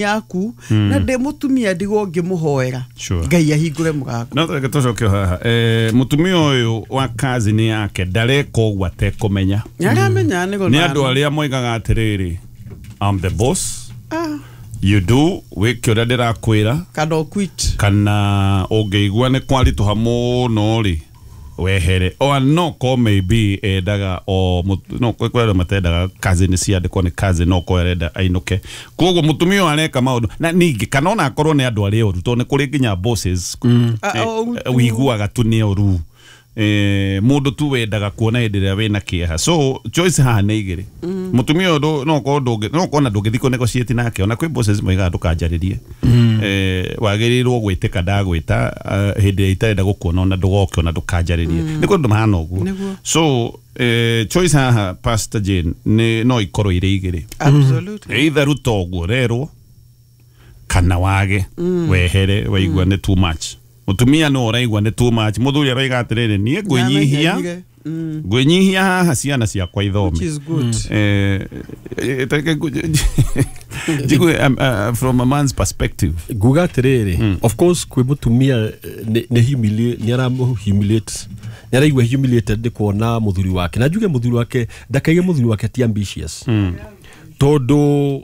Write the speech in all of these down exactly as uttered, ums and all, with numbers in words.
Yaku na ndĩ mũtumia ndigwo ngĩmũhoera Sure. Ngai ahingũre mũrango. No reke tũcoke haha, eh, mũtumia ũyũ wa cousin yake ndareka ũguo atekũmenya. Nĩaramenya nĩ Nĩ andũ arĩa moigaga atĩrĩrĩ, "I'm the boss, Ah, you do wĩke ũrĩa ndĩrakwĩra." Kana quit. Kana ũngĩigua nĩ kwaritũha mũno rĩ, wehere o no ko maybe endaga o mũt- no kwĩ andũ matendaga cousin ciandĩkwo nĩ cousin, no ko arenda ainũke. Koguo mũtumia ũyũ areka maũndũ na ningĩ kana ona akorwo nĩ andũ arĩa oru, tondũ nĩ kũrĩ nginya bosses Ah, eh, oru tu. Wĩiguaga tu nĩ oru, eh, mũndũ tu wendaga kuona hĩndĩ ĩrĩa wĩna kĩeha. So choice haha nĩ igĩrĩ. Mũtumia ũyũ ndũ- no korwo ndũngĩ no korwo na ndũngĩthiĩ kũ negotiate nake, ona kwĩ bosses moigaga ndũkanjarĩrie, eh, wagĩrĩirwo gwĩtĩka ndagwĩta, eh, hĩndĩ ĩrĩa itarenda gũkuona ona ndũgoke ona ndũkanjarĩrie. Nĩ kũndũ mahana ũguo. Nĩguo. So eh, choice haha, Pastor Jane, nĩ no ikorwo irĩ igĩrĩ. Absolutely. Either ruta ũguo rerwo kana wage wehere waigua nĩ too much. Mũtumia no ũraigua nĩ too much, mũthuri aroiga atĩrĩrĩ, niĩ ngwĩnyihia. Nĩamenyerire. Mm. Ngwĩnyihia haha ciana ciakwa Which ithome. is good. Eh, eh, tareke ngu- njigue um, uh, from a man's perspective. Nguga atĩrĩrĩ, of course kwĩ mũtumia eh, nĩ nĩ humili- nĩ aramũ-humiliate, nĩ araigua humiliated nĩ kuona mũthuri wake, na njuge mũthuri wake ndakaige mũthuri wake ti ambitious, tondũ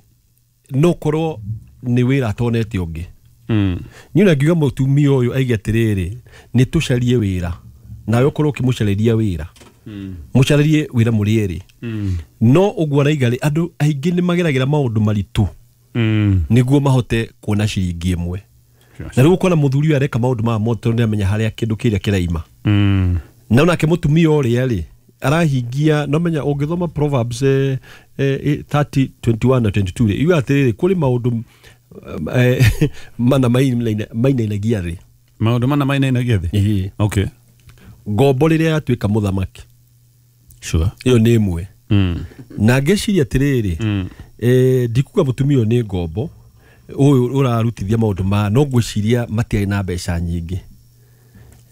no korwo nĩ wĩra atonete ũngĩ. mm. Niĩ ona ngiuga mũtumia ũyũ aige atĩrĩrĩ, nĩ tũcarie wĩra, nawe ũkorwo ũkĩmũcarĩria wĩra, mũcarĩrie wĩra mũrĩ erĩ. No ũguo araiga rĩ, andũ aingĩ nĩ mageragĩra maũndũ maritũ Mm. nĩguo mahote kuona ciringi ĩmwe. Na rĩu ũkona mũthuri ũyũ areka maũndũ maya mothe tondũ nĩamenya harĩa kĩndũ kĩrĩa kĩraima. Mm. Na onake mũtumia ũrĩa rĩ arahingia, no menya ũngĩthoma Proverbs eh, eh, thirty twenty-one na twenty-two rĩ, yuga atĩrĩrĩ, kũrĩ maũndũ eh, mana mainaina- mainainagia thĩ. Maũndũ mana mainainagia thĩ. Ĩĩ. Okay. Ngombo rĩrĩa yatuĩka mũthamaki. Sure. Ĩyo nĩ ĩmwe. Mm. Na ngĩciria atĩrĩrĩ, Mm. eh, ndikuga mũtumia ũyũ nĩ ngombo ũyũ ũrarutithia maũndũ maya, no ngwĩciria matiarĩ na mbeca nyingĩ,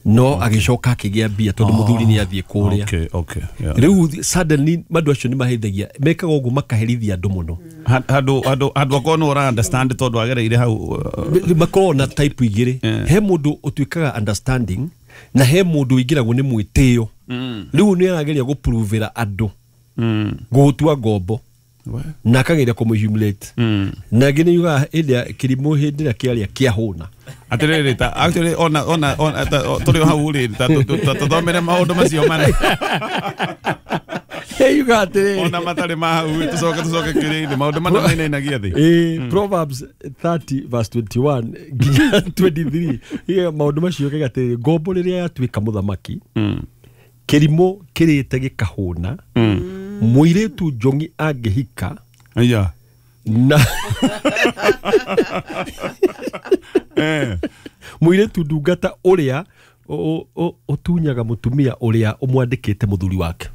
no agĩcoka akĩgĩa mbia tondũ mũthuri nĩ athiĩ kũrĩa. Okay, okay. Yeah. Rĩu suddenly andũ acio nĩ mahĩthagia, mekaga ũguo makaherithia andũ mũno. Ha- handũ handũ handũ akorwo nĩ ũra understand tondũ agereire hau uh, Makoragwo na type igĩrĩ. Yeah. He mũndũ ũtuĩkaga understanding na he mũndũ ũingĩragwo nĩ mwĩtĩo. Rĩu nĩ arageria gũpruvĩra andũ mm. gũgũtua ngombo We. Na akageria kũmũ-humiliate. Mm. Na ngĩ nĩ yugaga hĩndĩ ya kĩrimũ, hĩndĩ ĩrĩa kĩaria kĩahũna. Atĩrĩrĩ, ta actually ona ona ona ta- o- tũrĩ o hau rĩ, ta tũ- tũ- ta tũthomere maũndũ macio mana. Yuga atĩrĩrĩ, ona matarĩ ma hau rĩ, tũcoke tũcoke kĩrĩa-inĩ, maũndũ mana mainainagia thĩ. Ĩĩ, Proverbs thirty verse twenty-one nginya twenty-three. Ĩĩ, maũndũ macio kaiga atĩrĩrĩ, ngombo rĩrĩa yatuĩka mũthamaki, Mm. kĩrimũ kĩrĩte gĩkahũna, mũirĩtu njongi angĩhika Aya. Na Eh. mũirĩtu ndungata ũrĩa ũ- ũ- ũtunyaga mũtumia ũrĩa ũmwandĩkĩte mũthuri wake.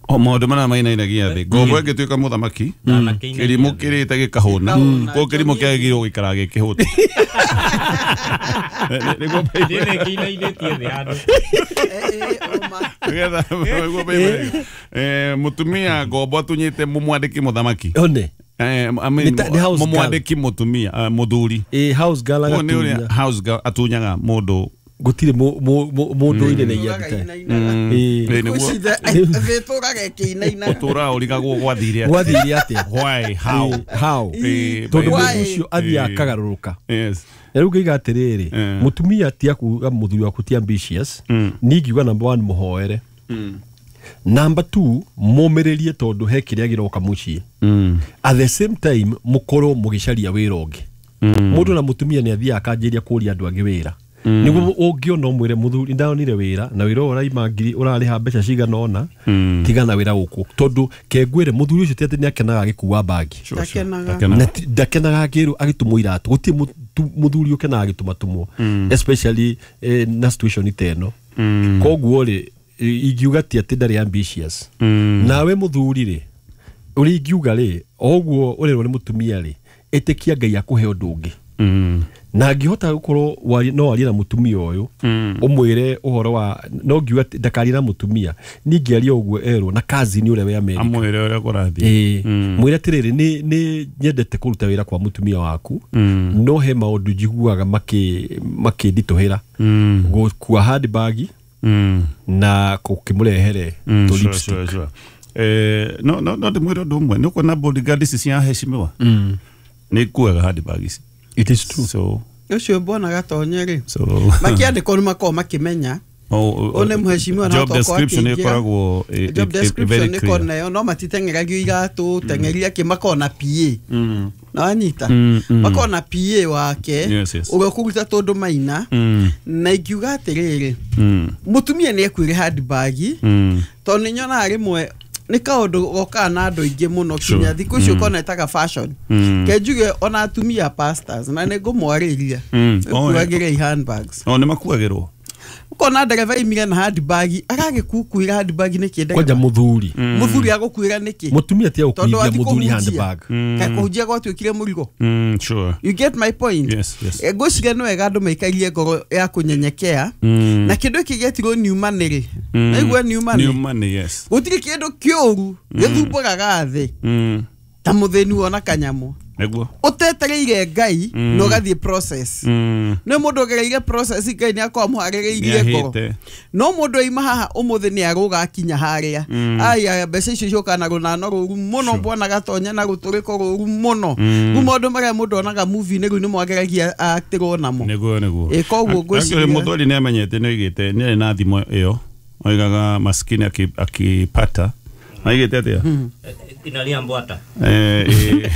O maũndũ mana mainainagia thĩ, ngombo ĩngĩtuĩka mũthamaki, kĩrimũ kĩrĩte gĩkahũna. Gĩkahũna. Koguo kĩrimũ kĩagĩrĩirwo gũikara gĩkĩhũta. Nĩguo Nĩkĩinainĩtie thĩ handũ. Eh, eh, ũma. Nĩgetha nĩguo Bible- eh, mũtumia ngombo atunyĩte mũmwandĩki mũthamaki. One. Eh, I mean, Nĩ ta- nĩ house girl. mũmwandĩki mũtumia, eh, mũthuri. Ĩ, house girl. Ũyũ nĩ ũrĩa Agatunya. House girl atunyaga mũndũ. Gũtirĩ mũ- mũ- mũ- mũndũ ũinainagia Tũraga thĩ. inainaga. Ĩ. Ĩ, nĩguo. Gwĩciria, thĩ tũraga ĩkĩinainaga. Ũtũraga ũrigagwo gwathire atĩa. Gwathire atĩa? Why? How? Ĩ, how? Ĩ, Tondũ by- mũndũ ũcio athiaga Ĩ. akagarũrũka. Yes. Na rĩu ngaiga atĩrĩrĩ, Eh. mũtumia ti akuga mũthuri waku ti ambitious. Mm. Niĩ ingiuga number one, mũhoere. Number two, mũmĩrĩrie tondũ he kĩrĩa gĩroka mũciĩ. Mm. At the same time mũkorwo mũgĩcaria wĩra ũngĩ. Mũndũ na mũtumia nĩ athiaga akanjĩria kũria andũ angĩ wĩra, nĩguo ũngĩona ũmwĩre mũthuri, ndonire wĩra na wĩra ũyũ ũraima ngiri, ũrarĩha mbeca cigana ũna, tigana wĩra gũkũ, tondũ kengwĩre mũthuri ũcio ti atĩ nĩ akenaga agĩkua bagi. Ndakenaga. Ndakenaga. Na ti- ndakenaga akĩrwo agĩtũmwo iratũ. Gũtirĩ mũtu- mũthuri ũkenaga agĩtũmatũmwo, especially eh, na situation ta ĩno. Koguo rĩ, ingiuga ti atĩ ndarĩ ambitious. Nawe mũthuri rĩ, ũrĩa ingiuga rĩ, o ũguo ũrerwo nĩ mũtumia rĩ, ĩtĩkia Ngai akũhe ũndũ ũngĩ. Mm. Na angĩhota gũkorwo wari- no arie na mũtumia ũyũ, ũmwĩre ũhoro wa no ngiuga atĩ ndakarie na mũtumia, ningĩaria ũguo erwo na cousin ũrĩa wĩ America. Amwĩre ũrĩa kũrathiĩ. Ĩĩ, mwĩre atĩrĩrĩ, nĩ nĩ nyendete kũruta wĩra kwa mũtumia waku, no he maũndũ njiguaga makĩ makĩnditũhĩra gũkua handbag Mm. na gũkĩmũrehere Mm, tũ sure, lipstick. sure, sure. Eh, no no no ndĩmwĩre ũndũ ũmwe, nĩ ũkuona bodyguard ici cia heshimiwa nĩ ikuaga handbag ici. It is true. So Ũcio mbona Gatonye rĩ, so makĩandĩkwo nĩ makoragwo makĩmenya Oh, Ũyũ nĩ mheshimiwa na job tokorwo description akĩingĩra. ĩkoragwo ĩ- Job ĩ- ĩ- description very nĩ clear. korwo nayo, no matiteng'eragio iratũ teng'eria kĩ, makoragwo na P A na wanyita, Mm, mm. makoragwo na P A wake Yes, yes. ũrĩa ũkũruta tũndũ maina. Mm, Na ingiuga atĩrĩrĩ, mm, mũtumia nĩ ekuĩre handbag, mm. tondũ nĩ nyonaga rĩmwe nĩ kaũndũ gokaga na andũ aingĩ mũno Sure. kinya thikũ ici ũkona ĩtaga fashion. Mm. Ke njuge ona atumia pastors, na nĩ ngũmwarĩria, Mm. Oh, yeah. ĩkuagĩrei handbags. Oh, nĩ makuagĩrwo. Ũkona ndereba imire na handbag, aragĩkukuĩra handbag nĩkĩ? Kwanja Ndereba mũthuri. Mũthuri agũkuĩra nĩkĩ? Mũtumia ti Tondũ agũkuithia athiĩ mũthuri kũhunjia. handbag. Kaĩ kũhunjia gwatuĩkire mũrigo? Mm, sure. You get my point? Yes, yes. Eh, ngwĩciria nĩ wega andũ maikarie ngoro ya kũnyenyekea. Mm. Na kĩndũ gĩkĩ gĩetirwo new money rĩ, Mm. naigua new money, New money, yes. gũtirĩ kĩndũ kĩũru gĩthumbũraga thĩ Mm. ta mũthĩni wona kanyamũ Nĩguo. ũtetereire Ngai na ũgathiĩ process. Mm. Nĩ mũndũ ũgereire process, Ngai nĩ akorwo amũharĩrĩirie ngoro. Nĩahĩte. No mũndũ aima haha ũmũthĩ nĩ arũga akinya harĩa, aya mbeca icio ciũkaga na rũnano rũru mũno, mbona Gatonya na rũtũrĩko rũru mũno. Rĩu maũndũ marĩa mũndũ onaga movie-inĩ rĩu nĩ mwageragia aktĩrwo namo. Nĩguo, nĩguo. Ĩ, koguo ngwĩciria- Actually, Mũthweri nĩ amenyete, nĩ oigĩte nĩ arĩ na thimo ĩyo oigaga maskini aki- akipata, oigĩte atĩa? Inalia mbwata. Eh, eh,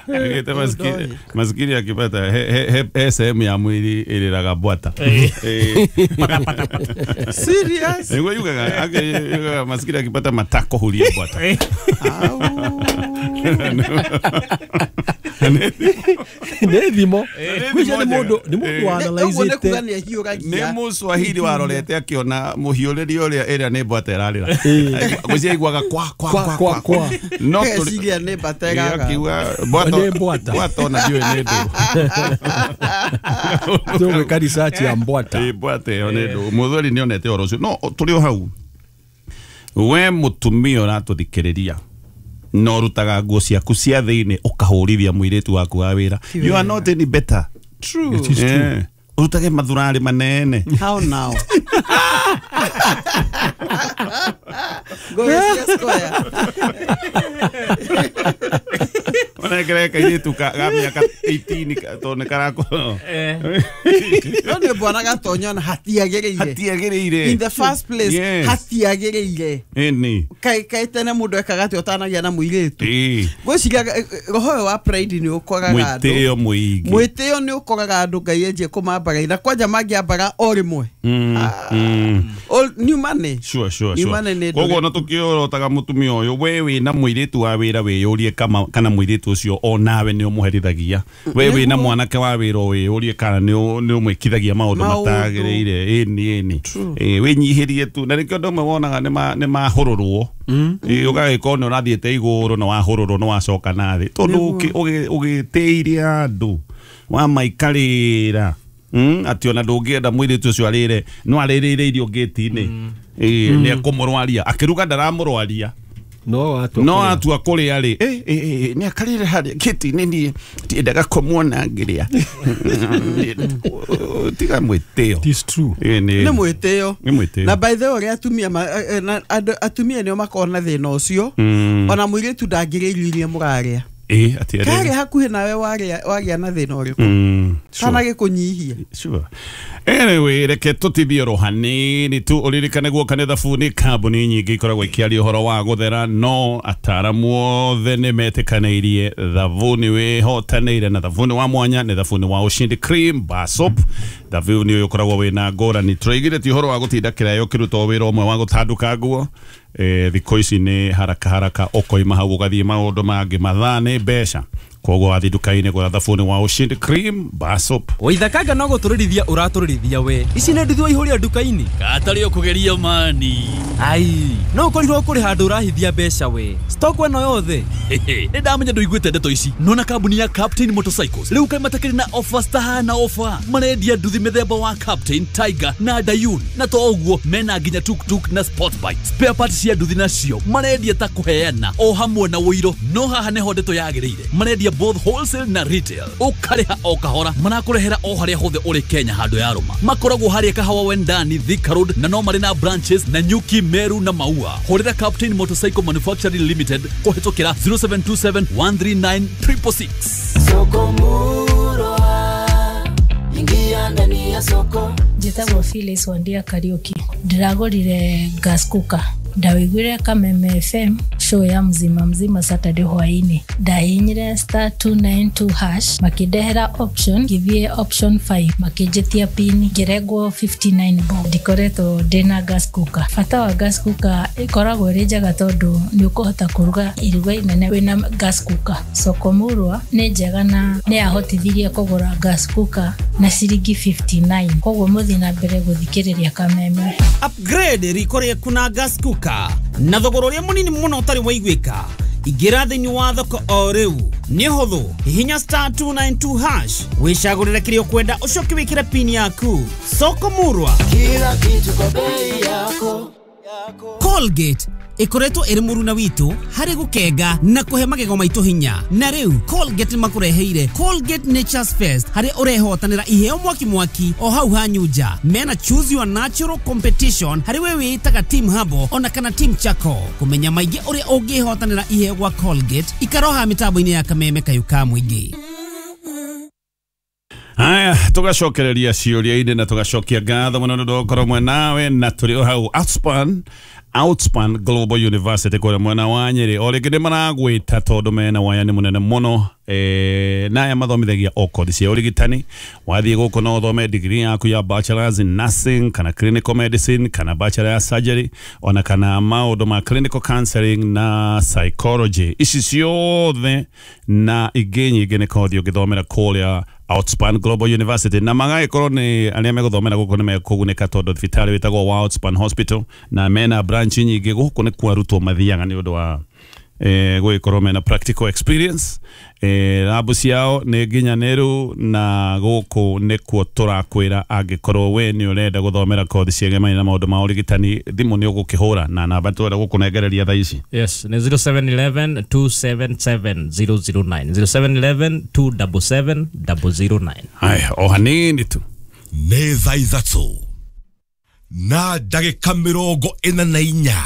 oigĩte maskini maskini akipata he, he, he, he sehemu ya mwĩrĩ ĩrĩraga mbwata. Eh, Serious? Nĩguo yugaga, actually yugaga maskini akipata matako hulia mbwata. Au. Nĩ thimo. Nĩ Ngwĩciria nĩ thimo mũndũ njega. nĩ mũndũ Eh. wa Ũguo nĩ analyzĩte. kuga nĩ nĩ ahiũragia. mũswahili warorete akĩona mũhiũrĩri ũrĩa ĩrĩa nĩ mbwata ĩrarĩra, ngwĩciria aiguaga kwa kwa Kwa, kwa kwa, kwa kwa. No tũrĩ- Eciria nĩ mbata ĩraga. akiuga mbwata. Nĩ mbwata. Mbwata ona ndiũĩ nĩ ndũ. Tũgwĩka research ya mbwata. Ĩ, mbwata ĩyo nĩ ndũ. Mũthuri nĩ onete ũhoro ũcio. No tũrĩ o hau, we mũtumia ũratũthikĩrĩria na ũrutaga nguo ciaku cia thĩinĩ ũkahũrithia mũirĩtu waku wa wĩra, you are not any better. True. It is true. Eh, ũrutage mathurarĩ manene. How now? Go cia square. Onekere kairĩtu ka ga mĩaka eighteen ka- tondũ nĩ karakorwo No nĩ mbona Gatonya ona hatiagĩrĩire. Hatiagĩrĩire. In the first place, Yes. hatiagĩrĩire. Ĩni. Kaĩ kaĩ tene mũndũ ekaga atĩ ũtanagĩa na mũirĩtu? Ĩĩ. Ngwĩciria eh, eh, roho ũyũ wa pride nĩ ũkoraga andũ. Mwĩtĩo mũingĩ. Mwĩtĩo nĩ ũkoraga andũ, Ngai enjie kũmambara na kwanja mangĩambara o rĩmwe. Mm, mm. All new money. Sure, sure, New sure. money nĩ Koguo ona tũkĩorotaga mũtumia ũyũ, we wĩna mũirĩtu wa wĩra, wĩyũrie kama kana mũirĩtu ũcio onawe nĩ ũmũherithagia. We wĩna mwanake wa wĩra, wĩyũrie kana nĩ ũ- nĩ ũmwĩkithagia maũndũ Maũndũ. matagĩrĩire. Ĩni, ĩni. Ĩ, wĩnyihĩrie tu, na nĩkĩo andũ amwe wonaga nĩ ma- nĩ mahũrũrwo. Ĩ, ũgagĩkorwo nĩ ũrathiĩte igũrũ na wahũrũrwo nĩ wacoka na thĩ tondũ ũkĩ- ũgĩ- ũgĩtĩire andũ wamaikarĩra. Mm, atĩ ona ndũngĩenda mũirĩtu ũcio arĩre, no arĩrĩire irio ngĩti-inĩ. Ĩ, nĩ ekũmũrwaria, akĩruga ndaramũrwaria. No watua No kũrĩa. atua kũrĩa rĩ, ĩ, ĩ, ĩ, nĩ akarĩre harĩa ngĩti-inĩ, niĩ ndiendaga kũmuona ngĩrĩa. Tiga mwĩtĩo. It is true. Ĩ, nĩ Nĩ mwĩtĩo. Nĩ mwĩtĩo. Na by the way, ũrĩa atumia ma- eh, eh, na andũ- atumia nĩo makoragwo na thĩna ũcio, Mm. ona mũirĩtu ndangĩrĩa irio iria mũrarĩa. Ĩ, atĩ arĩa- Karĩa hakuhĩ nawe warĩa wagĩa na thĩna ũrĩkũ? Mm, sure. Kana gĩkũnyihia. Sure. Anyway, reke tũtithie oro hanini tu ũririkane guoka nĩ thabuni. Kambuni nyingĩ ikoragwo ikĩaria ũhoro wa gũthera, no ataramu othe nĩ metĩkanĩirie thabuni wĩhotanĩire na thabuni wa mwanya nĩ thabuni wa Ushindi Cream Bar Soap. Thabuni ũyũ ũkoragwo wĩna ngũrani. Tũraigire ti ũhoro wa gũtinda kĩraĩ ũkĩruta o wĩra ũmwe wa gũtanduka nguo. Eh, thikũ ici nĩ haraka haraka, ũkoima hau ũgathiĩ maũndũ mangĩ, mathaa nĩ mbeca. Koguo wathi nduka-inĩ gũra thabuni wa Ushindi Cream bar soap. Waithakanga no gũtũrĩrithia ũratũrĩrithia we. Ici nĩ nduthi waihũria nduka-inĩ. Katarĩ ũkũgeria mani. Ai, no ũkorirwo kũrĩ handũ ũrahithia mbeca we. Stock ĩno yothe. Nĩ ndamenya ndũiguĩte ndeto ici. Nona kambuni ya Captain Motorcycles rĩu kaĩ matakĩrĩ na offers tahana offer. Marendia nduthi mĩthemba wa Captain, Tiger na Dayun. Na to ũguo mena nginya tuk-tuk na sport bike. Spare parts cia nduthi nacio marendia ta kũheana o hamwe na ũiro. No haha nĩho ndeto yagĩrĩire. Marendia both wholesale na retail. Ũkarĩha o kahora marakũrehera o harĩa hothe ũrĩ Kenya handũ ya rũma. Makoragwo harĩa Kahawa Wendani, Thika Road, na no marĩ na branches na Nyuki, Meru na Maua. Hũrĩra Captain Motorcycle Manufacturing Limited kũhĩtũkĩra zero seven two seven one three nine triple six. Soko Murwa, ingia ndani ya soko. Njĩtagwo Phyllis Wandia Kariuki. Ndĩragũrire gas cooker. Ndawiguire Kameme F M show ya mzima mzima Saturday hwaini. Ndahinyire star two nine two hash makindehera option ngithie option five makinjitia pin ngiregwo fifty-nine bob. Ndikoretwo ndina gas cooker. Bata wa gas cooker ikoragwo ĩrĩ njega tondũ nĩ ũkũhota kũruga iruga inene wĩna gas cooker. Soko Murwa nĩ njega na nĩ yahotithirie kũgũra gas cooker na ciringi fifty-nine. Koguo mũthiĩ na mbere gũthikĩrĩria Kameme. Upgrade riko rĩaku na gas cooker na thogora ũrĩa mũnini mũno ũtarĩ waiguĩka. Ingĩra thĩinĩ wa thoko o rĩu nĩ hũthũ, hihinya star two nine two hash wĩcagũrĩre kĩrĩa ũkwenda ũcoke wĩkĩre pin yaku. Soko Murwa, kila kitu kwa bei yako. Colgate ikoretwo ĩrĩ mũruna witũ harĩ gũkenga na kũhe magego maitũ hinya. Na rĩu Colgate makũreheire Colgate Nature's Fest harĩa ũrehotanĩra iheo mwaki mwaki o hau hanyunja. Mena choose your natural competition harĩ we wĩtaga team Habo ona kana team Chako. Kũmenya maingĩ ũrĩa ũngĩhotanĩra iheo gwa Colgate ikaroha mĩtambo-inĩ ya Kameme kayu ka mũingĩ. Haya, tugacokereria ciũria-inĩ na tugacokia ngatho mũno nĩ ũndũ wa gũkorwo mwena nawe na tũrĩ o hau Outspan Outspan Global University kũrĩa mwena wa Nyĩrĩ. O rĩngĩ nĩ maragwĩta tondũ mena wayani mũnene mũno eh, na aya mathomithagia o kothi cia ũrigitani. Wathiĩ gũkũ no ũthome degree yaku ya bachelors in nursing kana clinical medicine kana bachelor ya surgery ona kana maũndũ ma clinical counseling na psychology. Ici ciothe na ingĩ nyingĩ nĩ kothi ũngĩthomera kũrĩa Outspan Global University. Na magagĩkorwo nĩ arĩa megũthomera gũkũ nĩ mekũgunĩka tondũ thibitarĩ wĩtagwo wa Outspan Hospital na mena branch nyingĩ gũkũ nĩkuo arutwo mathiaga nĩ ũndũ wa eh, gũgĩkorwo mena practical experience. Eh, rabu ciao nĩ nginyanĩru na gũkũ nĩkuo tũrakwĩra angĩkorwo we nĩ ũrenda gũthomera kothi ciĩgemaine na maũndũ ma ũrigitani thimũ nĩ ũgũkĩhũra na namba tũrenda gũkũnengereria thaa ici. Yes, ni zero seven eleven two seven seven zero zero nine zero seven eleven two seven seven zero zero nine. Haya, o hanini tu. Nĩ thaa ithatũ na ndagĩka mĩrongo ĩna na inya.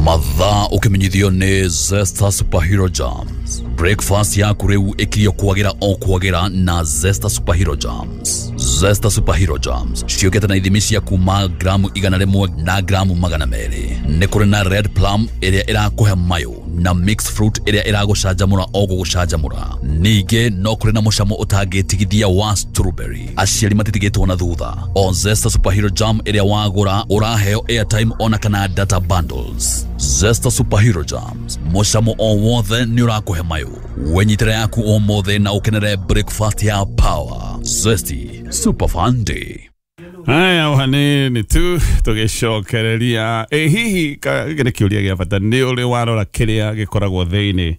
Mathaa ũkĩmenyithio nĩ Zesta Superhero Jams. Breakfast yaku rĩu ĩkirio kwagĩra o kwagĩra na Zesta Superhero Jams. Zesta Superhero Jams ciũkĩte na ithimi cia kuma gramu igana rĩmwe na gramu magana merĩ. Nĩ kũrĩ na red plum ĩrĩa ĩrakũhe mayũ na mixed fruit ĩrĩa ĩragũcanjamũra o gũgũcanjamũra. Ningĩ no kũrĩ na mũcamo ũtangĩtigithia wa strawberry. Aciari matitigĩtwo na thutha. O Zesta Superhero Jam ĩrĩa wagũra ũraheo airtime ona kana data bundles. Zesta Superhero Jams, mũcamo o wothe nĩ ũrakũhe mayũ. Wenyitĩre yaku ũmũthĩ na ũkenere breakfast ya power. Zesty Super Fun Day. Haya, o hanini tu tũgĩcokereria. Ĩ hihi gĩkĩ nĩ kĩũria gĩa bata, nĩ ũrĩ warora kĩrĩa gĩkoragwo thĩinĩ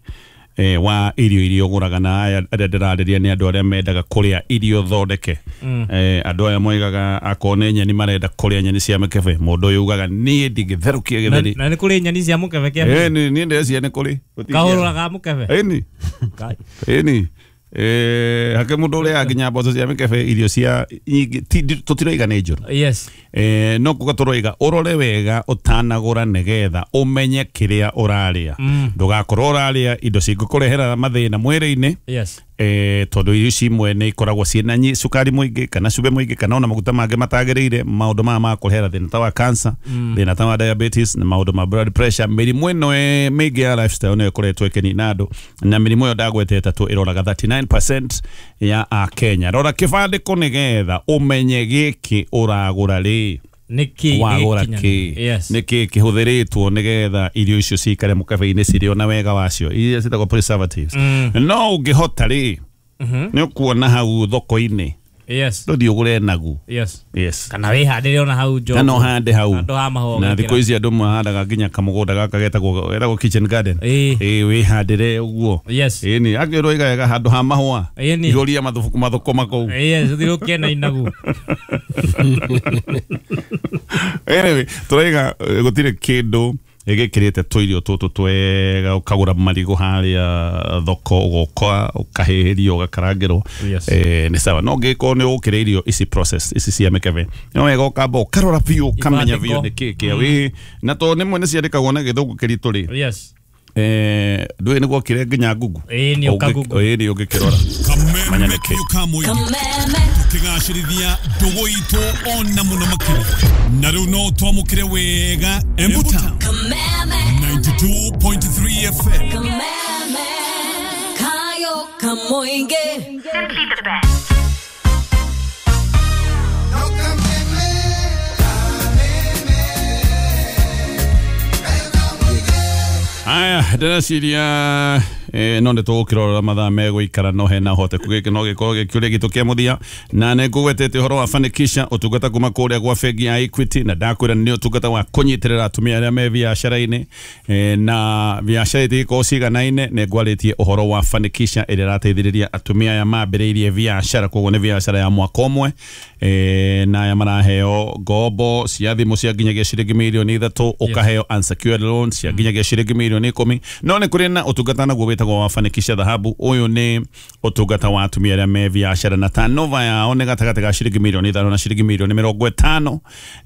eh, wa irio iria ũgũraga? Na aya arĩa ndĩrarĩria nĩ andũ arĩa mendaga kũrĩa irio thondeke. Mm. Eh, andũ aya moigaga akorwo nĩ nyeni marenda kũrĩa nyeni cia mĩkebe, mũndũ ũyũ ugaga niĩ ndingĩtherũkia Na gĩtheri. na nĩ kũrĩ nyeni cia mũkebe kĩa Eh, niĩ niĩ ndĩreciria nĩ kũrĩ. kahũrũra ga mũkebe. Ĩni. Ĩni. Eh, hake mũndũ ũrĩa nginya mboco cia mĩkebe irio cia nyingĩ ti- tũtiroiga nĩ njũru. Yes. Eh, no kuga tũroiga ũrore wega ũtanagũra nĩgetha ũmenye kĩrĩa ũrarĩa. Mm. Ndũgakorwo ũrarĩa indo cingĩkũrehera mathĩna mwĩrĩ-inĩ. Yes. Eh, tondũ irio ici imwe nĩ ikoragwo ciĩna nyi cukari mũingĩ kana cumbĩ mũingĩ kana ona maguta mangĩ matagĩrĩire. Maũndũ maya makũrehera thĩna ta wa cancer, Mm. thĩna ta wa diabetes na maũndũ ma blood pressure. Mĩrimũ ĩno ĩ- mĩingĩ ya lifestyle nĩyo ĩkoretwo ĩkĩnina andũ, na mĩrimũ ĩyo ndagwete ĩtatũ ĩroraga thirty-nine percent ya Akenya. Rora kĩbandĩko nĩgetha ũmenye gĩkĩ ũragũra rĩ Nĩkĩ wagũra gĩkinyanĩru? kĩ Yes. nĩkĩ kĩhũthĩrĩtwo nĩgetha irio icio cikare mũkebe-inĩ cirĩ ona wega wacio, iria ciĩtagwo preservatives. No ũngĩhota rĩ, nĩ ũkuona hau thoko-inĩ, Yes. ndũthiĩ ũgũre nagu. Yes. Yes. Kana wĩhandĩre ona hau njogu. Kana ũhande hau. Handũ ha mahũa Na ũgekĩra. thikũ ici andũ mahandaga nginya kamũgũnda gaka getagwo getagwo kitchen garden. Ĩĩ. Ĩĩ, wĩhandĩre ũguo. Yes. Ĩni angĩrwo igaga handũ ha mahũa, Ĩni. ihũria mathubu mathũkũma kũu. Yes, ũthiũrũrũkie na inagu. Anyway, tũraiga eh, gũtirĩ kĩndũ gĩkĩrĩte tũirio tũtũ twega, ũkagũra marigũ harĩa thoko, ũgoka ũkahĩhĩrio, ũgakarangĩrwo. Yes. Eh, nĩ sawa. No ũngĩkorwo nĩ ũgũkĩrĩa irio ici process ici cia mĩkebe, no wega ũkamba ũkarora biũ, ũkamenya biũ Ibandĩko. nĩkĩ kĩa wĩ na tondũ nĩmwe nĩ ciandĩkagwo na gĩthũngũ kĩritũ rĩ. Yes. Eh, ndũĩ nĩ gwokire nginya Google. Ĩĩ, nĩ ũka Ũngĩ- Google. ĩĩ, nĩ ũngĩkĩrora manya Kameme nĩkĩ. biũ ka mũingĩ tũkĩgacĩrithia ndũgũ itũ ona mũno makĩria, na rĩu no twamũkĩre wega Embu Town ninety-two point three F M. Kayo Kamoinge. Simply the best. Aya, ndĩreciria eh, no nĩ tũgũkĩrora mathaa megũikara, no hena ũhoteku gĩkĩ no gĩkorwo gĩkĩũria gitũ kĩa mũthia, na nĩ ngũgwetete ũhoro wa fanikisha ũtungata kuma kũrĩa gwa bengi ya Equity, na ndakwĩra nĩ ũtungata wa kũnyitĩrĩra atumia arĩa me biacara-inĩ, eh, na biacara itigĩkorwo ciganaine. Nĩ ngwarĩtie ũhoro wa fanikisha ĩrĩa ĩrateithĩrĩria atumia aya mambĩrĩirie biacara, koguo nĩ biacara ya mwaka ũmwe, eh, na aya maraheo ngombo cia thimũ cia nginyagia ciringi mirioni ithatũ, ũkaheo unsecured loan cia nginyagia ciringi mirioni ikũmi. No nĩ kũrĩ na ũtungata naguo wĩtagwo wa fanikisha dhahabu. Ũyũ nĩ ũtungata wa atumia arĩa me biacara, na turnover yao nĩ gatagatĩ ga ciringi mirioni ithano na ciringi mirioni mĩrongo ĩtano,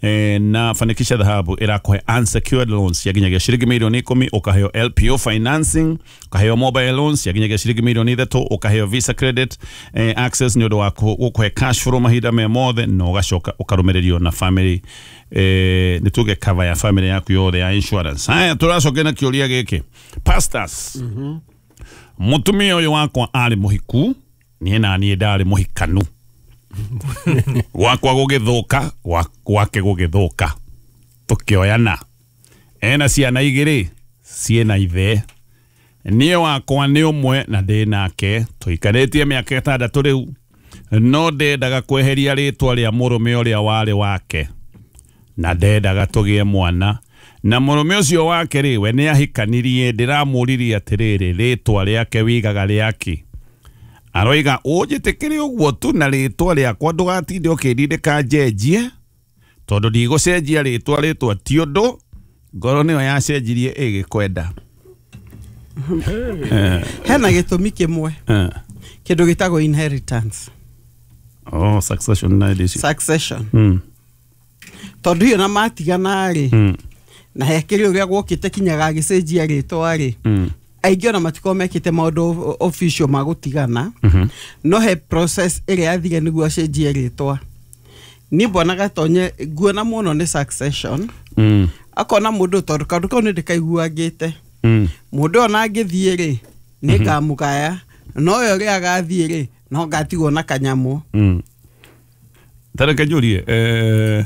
eh, na fanikisha dhahabu ĩrakũhe unsecured loans cia nginyagia ciringi mirioni ikũmi, ũkaheo L P O financing, ũkaheo mobile loans cia nginyagia ciringi mirioni ithatũ, ũkaheo visa credit eh, access nĩ ũndũ wa gũkũhe cash flow mahinda me mothe, na ũgacoka ũkarũmĩrĩrio na family, eh, nĩ tuge cover ya family yaku yothe ya insurance. Haya, tũracokia na kĩũria gĩkĩ pastors. Mũtumia ũyũ wakwa arĩ mũhiku, niĩ na niĩ ndarĩ mũhikanu, gwakwa gũgĩthũka, gwake gũgĩthũka, tũkĩoyana, ena ciana igĩrĩ ciĩna ithe, niĩ wakwa nĩ ũmwe na ndĩ nake, tũikarĩtie mĩaka ĩtandatũ rĩu, no ndendaga kweheria rĩtwa rĩa mũrũme ũrĩa warĩ wake, na ndendaga tũgĩe mwana, na mũrũme ũcio wake rĩ, we nĩ ahikanirie. Ndĩramũririe atĩrĩrĩ, rĩtwa rĩake wigaga rĩaki? Aroiga ũnjĩtĩkĩre ũguo tu na rĩtwa rĩakwa, ndũgatinde ũkĩndindĩka njenjie, tondũ ndigũcenjia rĩtwa, rĩtwa ti ũndũ, ngoro nĩyo yacenjirie ĩgĩkwenda. Hena gĩtũmi kĩmwe, kĩndũ gĩtagwo inheritance. Oh, succession na icio. Succession. Mm. Tondũ hiyo na matigana rĩ, Mm. na hekĩrĩ ũrĩa gwokĩte kinyaga agĩcenjia rĩtwa rĩ, Mm. aingĩ ona matikorwo mekĩte maũndũ official ma gũtigana, no he process ĩrĩa yathire nĩguo acenjie rĩtwa. Niĩ mbonaga Gatonye, nguona mũno nĩ succession. Mm. Akona mũndũ, tondũ kaũndũ kau nĩ ndĩkaiguangĩte, Mm. mũndũ ona angĩthiĩ rĩ, nĩ ngamũgaya, no we ũrĩa agathiĩ rĩ, no ngatigwo na kanyamũ. Mm. Tareke njũrie, eh,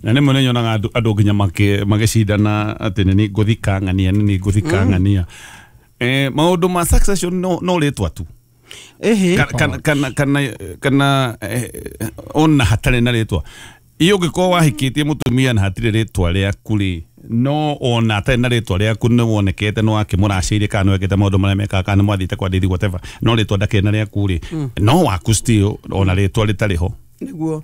na nĩ mũno nyonaga andũ andũ nginya magĩcindana atĩ nĩ ngũthika ng'ania, nĩ ngũthika ng'ania. Eh, maũndũ ma succession no no rĩtwa tu. Ĩhĩ. Kana kana kana kana ona hatarĩ na rĩtwa. Iyo ũngĩkorwo wahikĩtie mũtumia na hatirĩ rĩtwa rĩaku rĩ, no ona hatarĩ na rĩtwa rĩaku nĩ wonekete nĩ wakĩmũracĩirie kana nĩ wekĩte maũndũ marĩa mekaga kana nĩ mwathiĩte kwa ndĩthi whatever, no rĩtwa ndakĩrĩ na rĩaku rĩ, no waku still ona rĩtwa rĩtarĩ ho. Nĩguo.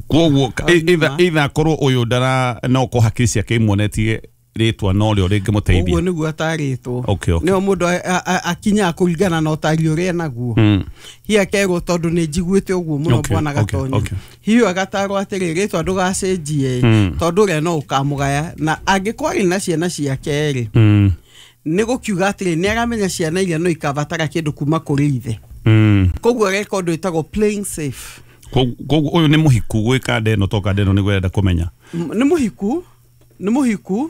Koguo either either akorwo ũyũ ndara no ko hakiri ciake imuonetie rĩtwa no rĩo rĩngĩmũteithia. Ũguo nĩguo atarĩtwo. Okay, okay. Nĩo mũndũ akinyaga kũringana na ũtari ũrĩa enaguo. Hihi akerwo tondũ nĩ njiguĩte ũguo mũno bwana Gatonye. Hihi agatarwo atĩrĩ, rĩtwa ndũgacenjie tondũ ũrĩa no ũkamũgaya, na angĩkorwo arĩ na ciana ciake rĩ, nĩ gũkiuga atĩrĩ nĩ aramenya ciana iria no ikabatara kĩndũ kuma kũrĩ ithe. Koguo areka ũndũ wĩtagwo playing safe. Koguo ũyũ nĩ mũhiku gwĩka ndeno toka ndeno nĩguo arenda kũmenya. Nĩ mũhiku, nĩ mũhiku,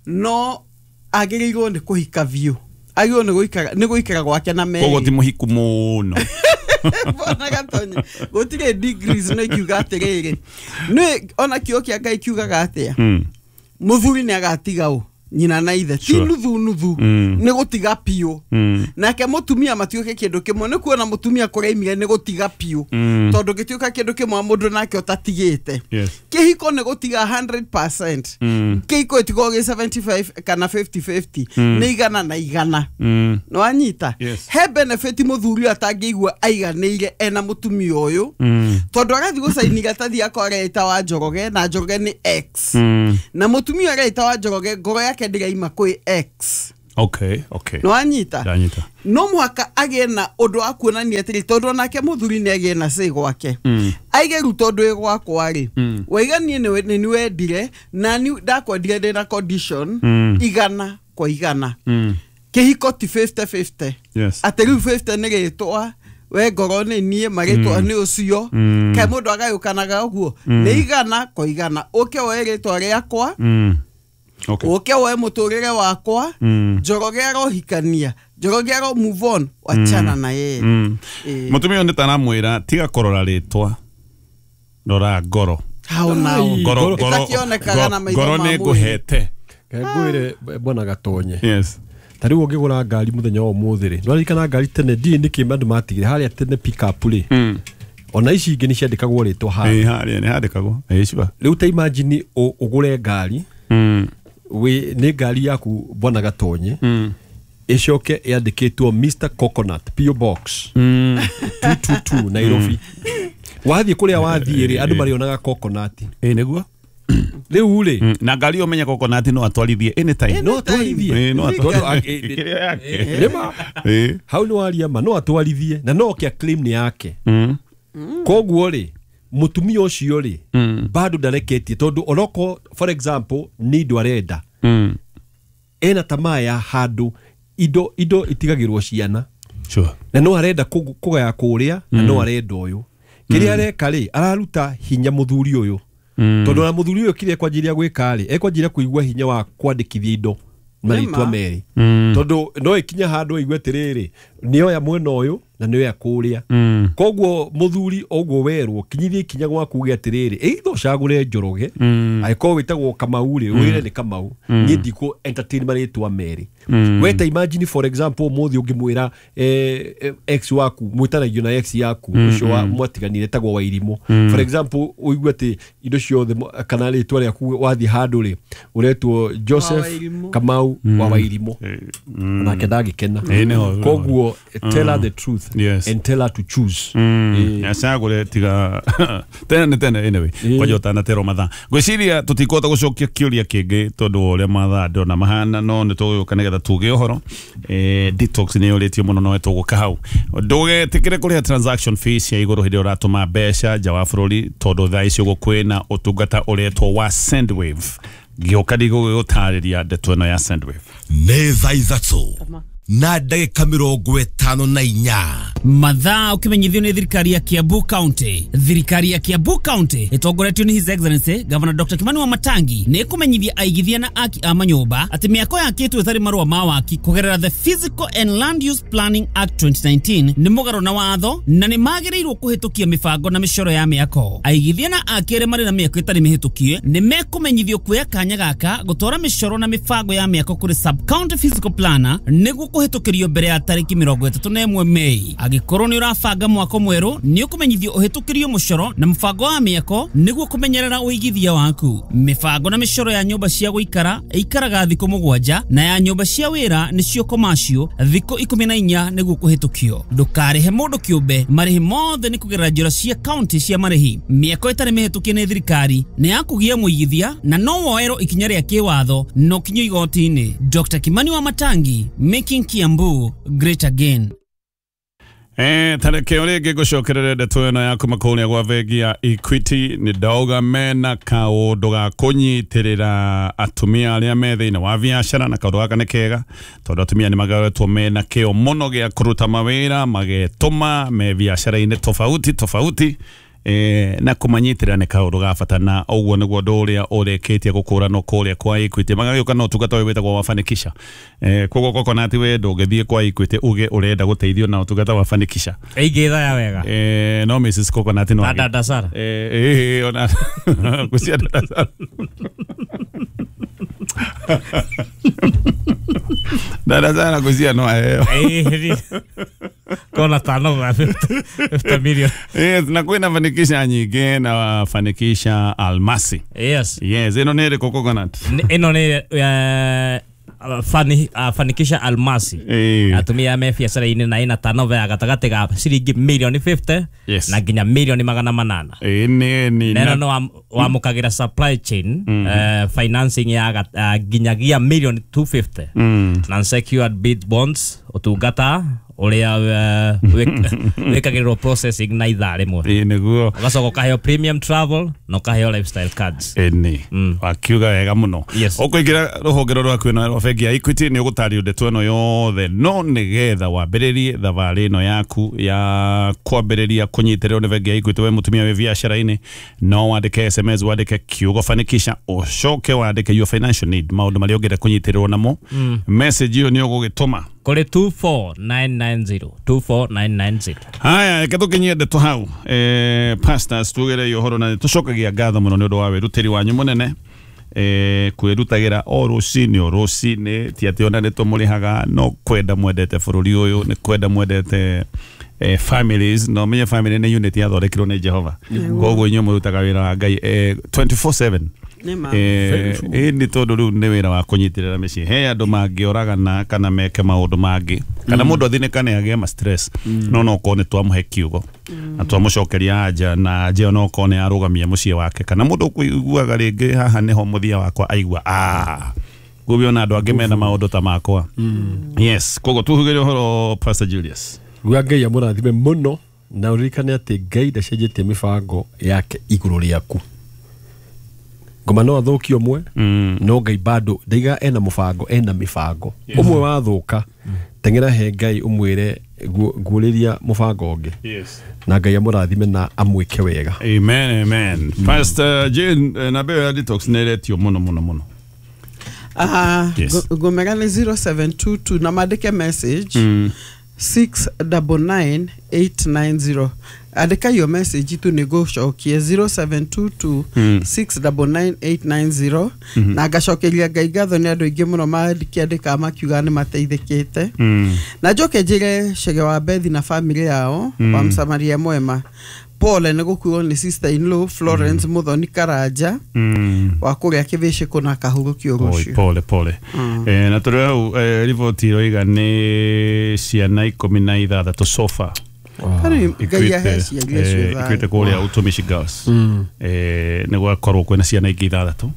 no agĩrĩirwo nĩ kũhika biũ. Agĩrĩirwo nĩ gũikara, nĩ gũikara gwake na Mary. Koguo ti mũhiku mũno. Bwana Gatonye gũtirĩ degrees no ikiuga atĩrĩrĩ nĩ ona kĩo kĩa Ngai kiugaga atĩa mũthuri nĩ agatiga ũ nyina na ithe ti nuthu nuthu nĩ gũtiga piũ nake mũtumia matuĩke kĩndũ kĩmwe nĩ kuona mũtumia kũrĩa nĩ gũtiga piũ tondũ gĩtuĩka kĩndũ kĩmwe mũndũ nake ũtatigĩte kĩhiko nĩ gũtiga hundred percent kĩhiko ĩtigwo gĩ seventy-five kana fifty fifty nĩ igana na igana nĩ wanyita he benefit mũthuri atangĩigua aiganĩire ena mũtumia ũyũ tondũ agathiĩ gũcaini gatathi akwa areita wa Njoroge na Njoroge nĩ ex na mũtumia areita wa Njoroge ngoro yake ndĩraima kwĩ ex. Okay, okay. No anyita. Ndanyita. No mũhaka agĩe na ũndũ wa kuonania atĩrĩ tondũ onake mũthuri nĩ agĩe na say gwake. Aige rĩu tondũ ĩ gwakwa rĩ waiga niĩ nĩ nĩ wendire na niĩ ndakwendire ndĩ na condition igana kwa igana. Kĩhiko ti fifty fifty. Yes. Atĩ rĩu fifty nĩ rĩtwa we ngoro nĩ niĩ marĩtwa nĩ ũcio kaĩ mũndũ agayũkanaga ũguo nĩ igana kwa igana ũke woe rĩtwa rĩakwa Okay. Oke woe mũtũrĩre wakwa Njoroge arohikania Njoroge aro move on wachana na yeye. Mũtumia nĩ taramwĩra tiga kũrora rĩtwa rora ngoro. Hau nao ngoro ngoro ngoro nĩ ngũhete ngwĩre bwana Gatonye. Yes. Ta rĩu ũngĩgũra ngari mũthenya wa ũmũthĩ rĩ nĩwaririkana ngari tene ndiĩ nĩkĩ andũ matigire harĩa tene pick up rĩ ona ici ingĩ nĩ ciandĩkagwo rĩtwa harĩa harĩa nĩ handĩkagwo ĩĩ sure. Rĩu ta imagine ũgũre ngari we nĩ ngari yaku bwana Gatonye icoke yandĩkĩtwo Mister Coconut P O Box two two two Nairobi. Wathiĩ kũrĩa wathiĩ rĩ andũ marĩonaga coconut ĩ nĩguo rĩu rĩ na ngari ũmenye coconut no atwarithie anytime no atwarithie no atwarithie yake nĩma hau nĩ waria ma no atwarithie na no kĩa claim nĩ yake koguo rĩ mutumia ũcio rĩ bado ndareketie tondũ onoko for example ni indo arenda ena tamaa ya handũ indo indo itigagĩrwo ciana sure. Na no arenda kũgaya kũrĩa na no arenda ũyũ kĩrĩa areka rĩ araruta hinya mũthuri ũyũ tondũ na mũthuri ũyũ kĩrĩa ekwanjĩrĩria gwĩka rĩ ekwanjĩrĩria kũigua hinya wa kwandĩkithia indo marĩtwa merĩ tondũ no ĩkinya handũ aigue atĩrĩrĩ nĩoya mwena ũyũ na nĩoya kũrĩa koguo mũthuri ũguo werwo kinyithia ikinya gwaku uge atĩrĩrĩ either ũcagũre Njoroge angĩkorwo wĩtagwo Kamau rĩ wĩre nĩ Kamau niĩ ndikũ entertain marĩtwa merĩ we ta imagine for example ũmũthĩ ũngĩmwĩra ex waku mwĩtanagio na ex yaku ũcio mwatiganire tagwo Wairimũ for example ũigue atĩ indo ciothe kana rĩtwa rĩaku wathiĩ handũ rĩ ũretwo Joseph Kamau wa Wairimũ onake ndangĩkena koguo tell her the truth. Yes. And tell her to choose. Mm. Acagũre tiga tene tene anyway kwanja ũtanatero mathaa ngwĩciria tũtikũhota gũcokia kĩũria kĩngĩ tondũ wa ũrĩa mathaa ndona mahana no nĩ tũgũgĩũka nĩgetha tuge ũhoro eh, detox nĩ yũrĩtio mũno no tũgũka hau ndũgetĩkĩre kũrĩha transaction fees cia igũrũ hĩndĩ ĩrĩa ũratũma mbeca nja wa bũrũri tondũ thaa ici ũguo kwĩna ũtungata ũretwo wa Sendwave ngĩũka ndigũgĩgũtarĩria ndeto ĩno ya Sendwave nĩ thaa ithatũ na ndagĩka mĩrongo ĩtano na inya mathaa ũkĩmenyithio nĩ thirikari ya Kiambu County. Thirikari ya Kiambu County ĩtongoretio nĩ His Excellency Governor Doctor Kimani Wamatangi nĩ ĩkũmenyithia aigithia na aki a manyũmba atĩ mĩako yakĩtwo ĩtarĩ marũa ma waki kũgerera the Physical and Land Use Planning Act twenty nineteen nĩ mũgarũ na watho na nĩ magĩrĩirwo kũhĩtũkia mĩbango na mĩcoro ya mĩako. Aigithia na aki arĩa marĩ na mĩako ĩtarĩ mĩhĩtũkie nĩ mekũmenyithio kuoya kanya gaka gũtwara mĩcoro na mĩbango ya mĩako kũrĩ sub county physical planner nĩguo kũhĩtũkĩrio mbere ya tarĩki mĩrongo ĩtatũ na ĩmwe Mei. Angĩkorwo nĩ ũrabanga mwako mwerũ nĩ ũkũmenyithio ũhĩtũkĩrio mũcoro na mũbango wa mĩako nĩguo kũmenyerera ũigithia waku. Mĩbango na mĩcoro ya nyũmba cia gũikara ĩikaraga thikũ mũgwanja na ya nyũmba cia wĩra nĩcio commercial thikũ ikũmi na inya nĩguo kũhĩtũkio. Ndũkarĩhe mũndũ kĩũmbe, marĩhi mothe nĩ kũgerera njĩra cia county cia marĩhi. Mĩako ĩtarĩ mĩhĩtũkie nĩ thirikari nĩ ya kũgia mũigithia na no woerwo ikinya rĩa kĩwatho na ũkinyio igoti-inĩ. Doctor Kimani Wamatangi, making Kiambu great again. Eh, tareke rĩngĩ ngũcokerere ndeto ĩno ya kuma kũrĩa gwa bengi ya Equity nĩ ndauga mena kaũndũ ga kũnyitĩrĩra atumia arĩa me thĩinĩ wa biacara na kaũndũ gaka nĩ kega tondũ atumia nĩ magoretwo mena kĩo mũno gĩa kũruta mawĩra magetũma me biacara-inĩ tofauti tofauti. eh, na kũmanyitĩrĩra nĩ kaũndũ ga bata na ũguo nĩguo ũndũ ũrĩa ũrĩkĩtie gũkũranwo kũrĩa kwa Equity magagĩũka na ũtungata ũyũ wĩtagwo wa Fanikisha eh, koguo Coconut we ndũngĩthiĩ kwa Equity uge ũrenda gũteithio na ũtungata wa Fanikisha Ĩingĩ ya wega eh, no Missus Coconut no na Dada Sara eh, eh, ona gũcia Dada Sara Dada Sara gũcia no aheo kona tano fifty million. Yes, na kwina Fanikisha nyingĩ na Fanikisha Almasi. Yes. Yes, ĩno nĩ ĩrĩkũ Coconut? Ĩno nĩ uh, fani, uh, Fanikisha Almasi. Eh. Atumia me biacara-inĩ na ĩna turnover ya gatagatĩ ga ciringi milioni fifty Yes. na nginya milioni magana manana. Eh, nĩ nĩ Na ĩno no wamũkagĩra supply chain mm. uh, financing ya uh, nginyagia milioni two fifty mm. na unsecured bid bonds ũtungata ũrĩa wĩkagĩrĩrwo processing na ithaa rĩmwe. Ĩĩ nĩguo. Ũgacoka ũkaheo premium travel na ũkaheo lifestyle cards. Ĩni wakiuga wega mũno. Yes. Ũkũingĩra rũhonge rũrũ rwaku ĩno rwa bengi ya Equity nĩ ũgũtarĩrio ndeto ĩno yothe no nĩgetha wambĩrĩrie thabarĩ ĩno yaku ya kwambĩrĩria kũnyitĩrĩrwo nĩ bengi ya Equity we mũtumia wĩ biacara-inĩ no wandĩke S M S wandĩke kiugo Fanikisha ũcoke wandĩke your financial need maũndũ marĩa ũngĩenda kũnyitĩrĩrwo namo message ĩyo nĩ ũgũgĩtũma kũrĩ two four nine nine zero two four nine nine zero. Haya reke tũkinyie ndeto hau eh, pastors tugere ũhoro na tũcokagia ngatho mũno nĩ ũndũ wa wĩrutĩri wanyu mũnene eh, kwĩrutagĩra o rũcinĩ o rũcinĩ ti atĩ ona nĩ tũmũrĩhaga no kwenda mwendete bũrũri ũyũ nĩ kwenda mwendete eh, families no menye family nĩ unit yathondekirwo nĩ Jehova koguo inyuĩ mũrutaga wĩra wa Ngai eh, twenty-four seven eh nĩ tondũ rĩu nĩ wĩra wa kũnyitĩrĩra mĩciĩ he andũ mangĩoragana kana meke maũndũ mangĩ kana mũndũ athĩnĩkane agĩe ma stress no no korwo nĩ twamũhe kiugo na twamũcokeria anja na anja no korwo nĩ arũgamia mũciĩ wake kana mũndũ ũkũiguaga rĩngĩ haha nĩho mũthia wakwa aigua ah guo ona andũ angĩ mena maũndũ ta makwa. Yes, koguo tuhugĩre ũhoro Pastor Julius. Gwa Ngai amũrathime mũno na ũririkane atĩ Ngai ndacenjetie mĩbango yake igũrũ rĩaku. Ngoma no athũkie ũmwe no Ngai bado ndaiga ena mũbango ena mĩbango ũmwe wathũka teng'era he Ngai ũmwĩre nguũrĩria mũbango ũngĩ. Yes. Na Ngai amũrathime na amwĩke wega. Amen, amen. Pastor Jane na mbere ya detox nĩ ĩretio mũno mũno mũno. Ah, ngomera nĩ zero seven two two na mandĩke message six nine nine eight nine zero. Andĩka iyo message tu nĩngũcokie zero seven two two six nine nine eight nine zero na ngacokeria Ngai ngatho nĩ andũ aingĩ mũno mandĩkĩandĩka makiuga nĩ mateithĩkĩte. Na njoke njĩre Chege wa Bethi na family yao wa Msamaria mwema pole nĩ gũkuo nĩ sister in law Florence Muthoni Karanja wa kũrĩa Kĩvĩcĩ na kahurũkio rũciũ. Pole pole. Eh, na tũrĩ hau riboti iroiga nĩ ciana ikũmi na ithathatũ sofa ikuĩte kũrĩa Utumishi Girls nĩ gwakorwo kwĩna ciana ingĩ ithathatũ.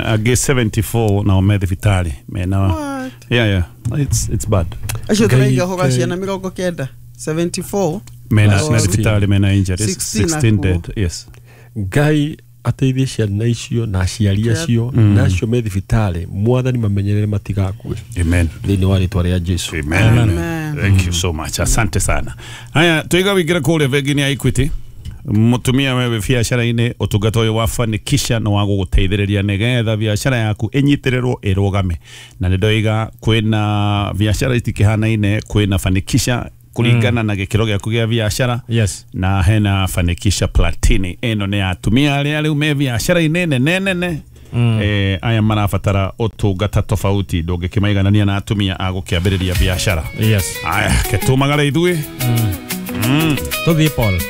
Angĩ seventy-four nao me thibitarĩ mena. Yeah, yeah. It's it's bad. Acio tũraiga ũhoro ciana mĩrongo kenda seventy-four mena na thibitarĩ mena injuries sixteen dead. Yes. Ngai ateithie ciana icio na aciari acio na acio me thibitarĩ mwathani mamenyerere matigakue. Amen. Thĩinĩ wa rĩtwa rĩa Jesu. Amen. Amen. Thank you so much. Asante sana. Haya tuiga wingĩra kũrĩa bengi-inĩ ya Equity mutumia wewe biacara-inĩ ũtungata ũyũ wa Fanikisha nĩ wa gũgũteithĩrĩria nĩgetha biacara yaku ĩnyitĩrĩrwo ĩrũgame na nĩ ndoiga kwĩna biacara itikĩhanaine kwĩna Fanikisha kulingana na gĩkĩro gĩaku gĩa biacara. Yes. Na hena Fanikisha Platini ĩno nĩ atumia arĩa rĩu me biacara-inĩ nene nene eh, aya marabatara ũtungata tofauti ndũngĩkĩmaiganania na atumia a gũkĩambĩrĩria biacara. Yes. Aya ketumagara ithuĩ. Tũthiĩ Paul.